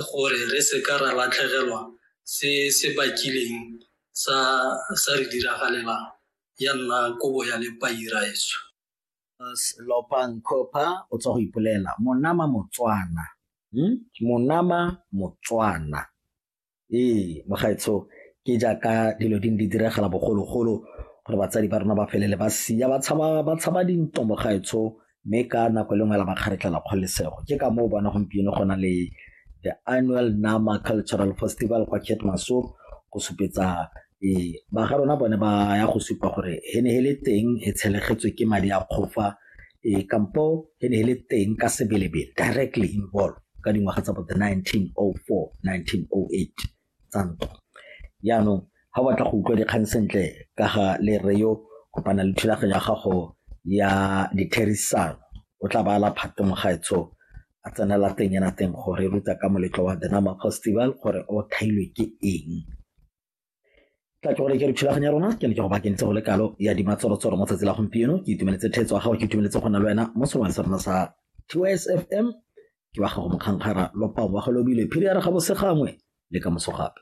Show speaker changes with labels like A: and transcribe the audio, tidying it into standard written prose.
A: Gore re se ka ra latlhegelwa se se bakileng sa sa re diragalelang ya nna kobo ya lepai raetsho.
B: Lopang Cooper o tswa go ipolela monama Motswana, Monama Motswana. Ee, mogaetsho ke jaaka dilo di ne di diragala bogologolo gore batsadi ba rona ba felele ba sia ba tshaba dintwa mogaetsho mme ka nako e le nngwe la ba kgaretlhela kgololosego. Ke ka moo o bona gompieno go na le the annual Nama Cultural Festival kwa Keetmanshoop go supetsa ba ga rona bone ba ya go supa gore he ne he le teng e tshelegetswe ke madi a kgofa kampo he ne he le teng ka sebelebele directly involved ka dingwaga tsa bo the 1904, 1908 tsa ntwa. Jaanong ga o batla go utlwa dikgang sentle ka ga le rre yo kopana le thulaganyo ya gago ya ditherisano o tla ba la phate mogaetsho a tsenela teng ena teng gore ruta ka moletlo wa The Nama Festival gore o thailwe ke eng. Tla ke gore ke re thulaganyo ya rona ke ne ke go bakentse go le kalo ya dimatsorotsoro mo tsatsi la gompieno ke itumeletse theetso ya gago ke itumeletse go nna le wena mo serweng sa rona sa TYSFM ke wa gago mokgankgara lopang wa go lobile phiri ya re ga bosegangwe le ka moso gape.